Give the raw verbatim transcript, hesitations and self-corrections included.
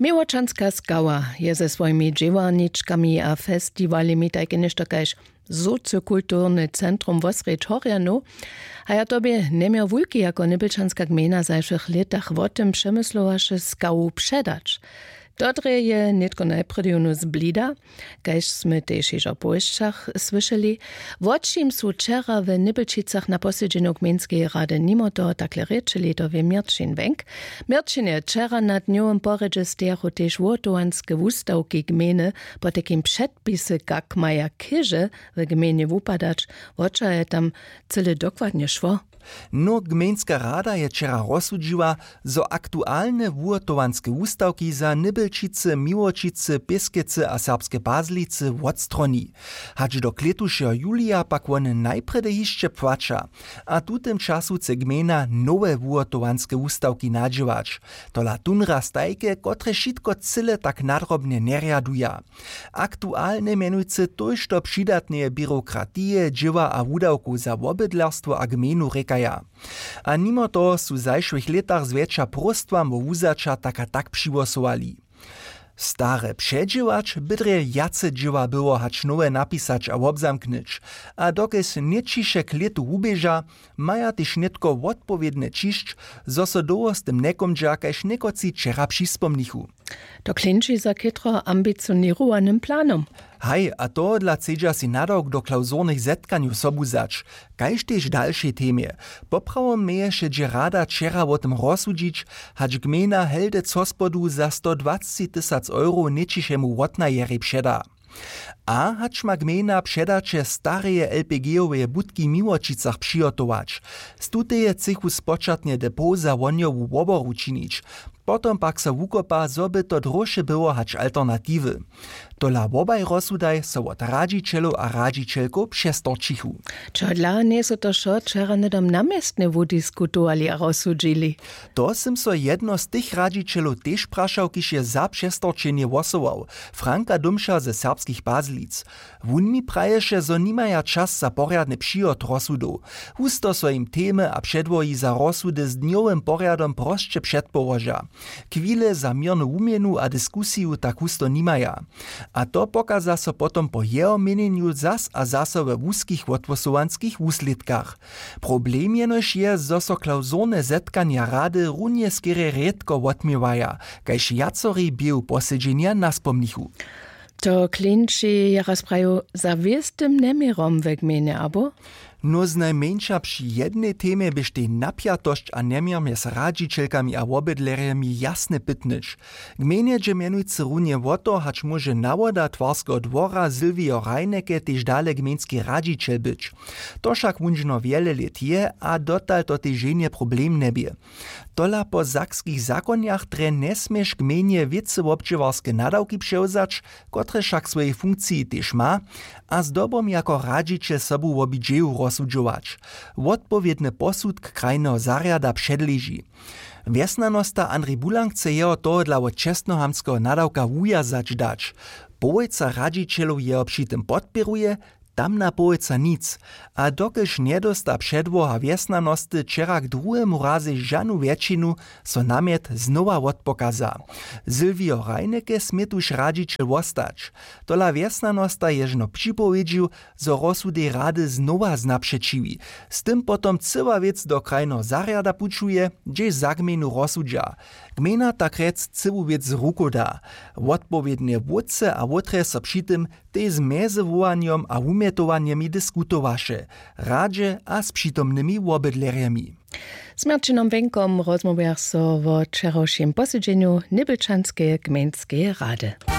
Miłočanska skała je ze swojimi dźěłarničkami a festiwalemi tajke něšto kaž sociokulturny centrum wosrjedź horjanow. A ja to bě njeměr wulki jako nybelčanska gmejna w zašłych lětach wo tym přemyslowaše skawu předać. To drje je nětko najprjedy jónu z blida, kaž smy tež hižo w powěsćach słyšeli. Wo čim su wčera w nybelčicach na posedźenju gmejnskeje rady nimo toho takle rěčeli, to wě měrćin wenk. Měrćin je wčera na dnjowym porjedźe stejachu tež wuhotowanske wustawki gmejny, potajkim předpisy kak maja chěže w gmejnje wupadać. Wo čo je tam cyle dokładnje šło? No, gmejnska rada je wčera rozsudźiła, zo aktualne wuhotowanske wustawki za nybelčicy, miłočicy, pěskecy a serbske pazlicy wotstroni. Hač do klětušeho julija pak wone najprjedy hišće płaća. A w tutym času chce gmejna nowe wuhotowanske wustawki nadźěłać. Tola tón raz tajke, kotrež wšitko cyle tak nadrobnje njerjaduja. Aktualne mjenujcy tójšto přidatneje běrokratije, dźěła a wudawkow za wobydlerstwo a gmejnu rěkaja. A nimo toho su w zašłych lětach zwjetša próstwam wo wuzaća tak a tak přihłosowali. Stare předźěłać by drje wjace dźěła było hač nowe napisać a wobzamknyć. A dokelž nětčiše k lětu wuběža, maja tež nětko wotpowědnje ćišć, zo so dołho z tym njekómdźa kaž někotři wčera přispomnichu. To klinči za chětro ambicioněrowanym planom. Haj, a tohodla chcedźa sej nadawk do klawzurnych zetkanjow sobu wzać, kaž tež w dalšej temje. Poprawom měješe dźě rada wčera wo tym rozsudźić, hač gmejna heldec hospodu za sto dwacci tysac euro nětčišemu wotnajerjej předa. A hač ma gmejna předaće stareje lpg-oweje budki w miłočicach přihotować, z tuteje chcychu spočatnje depot za wohnjowu woboru činić. Potom pak so wukopa, zo by to dróše było hač alternatiwy. Tola wobaj rozsudaj so wot radźićelow a radźićelkow přestorčichu. Čodla njejsu to wšo wčera hnydom na městnje wudiskutowali a rozsudźili? To sym so jedno z tych radźićelow tež prašał, kiž je za přestorčenje hłosował, Franka Dómša ze Serbskich Pazlic. Wón mi praješe, zo nimaja čas za porjadny přihot rozsudow. Husto so jim temy a předłohi za rozsudy z dnjowym porjadom prosće předpołoža. Chwile za měrnu wuměnu a diskusiju tak husto nimaja. A to pokaza so potom po jeho měnjenju zas a zaso we wuskich wothłosowanskich wuslědkach. Problem jenož je, zo so klawzurne zetkanja rady runje skerje rědko wotměwaja, kaž wjacori běhu posedźenja naspomnichu. To klinči je raz prajił, za wěstym njeměrom we gmejnje, abo? Nó znajmjeńša při jednej temje běštej napjatosć a njeměr mjez radźićelkami a wobydlerjemi jasnje pytnyć. Gmejnje dźe mjenujcy runje wo to, hač móže nawoda twarskeho dwora Sylwio Reinecke tež dale gmejnski radźićel być. To wšak wón žno wjele lět je a dotal to tež ženje problem njebě. Tola po sakskich zakonjach drje njesměš gmejnje wěcy wobdźěłarske nadawki přewzać, kotrež wšak w swojej funkciji tež ma, a zdobom jako radźićel sobu wobidźeju rozsudźować. Wotpowědny posudk krajneho zarjada předleži. Wjesnjanosta Andrej Bulang chce jeho tohodla wot čestnohamtskeho nadawka wuwjazać dać. Połojca radźićelow jeho při tym podpěruje, tamna połojca nic. A dokelž njedósta předłoha wjesnjanosty wčera k druhemu razej žanu wjetšinu, so namjet znowa wotpokaza. Sylwio Reinecke smě tuž radźićel wostać. Tola wjesnjanosta je žno připowědźił, zo rozsudej rady znowa znapřećiwi. Z tym potom cyła wěc do krajneho zarjada pućuje, hdźež za gmejnu rozsudźa. Gmejna tak rjec cyłu wěc z rukow da. Wotpowědnje wótře a wótrje so při tym tež z mjezywołanjom a wumjetowanjemi diskutowaše, radźe a z přitomnymi wobydlerjemi. Z Marćinom Wenkom rozmołwjach so wo wčerawšim posedźenju Nybelčanskeje gmejnskeje rady.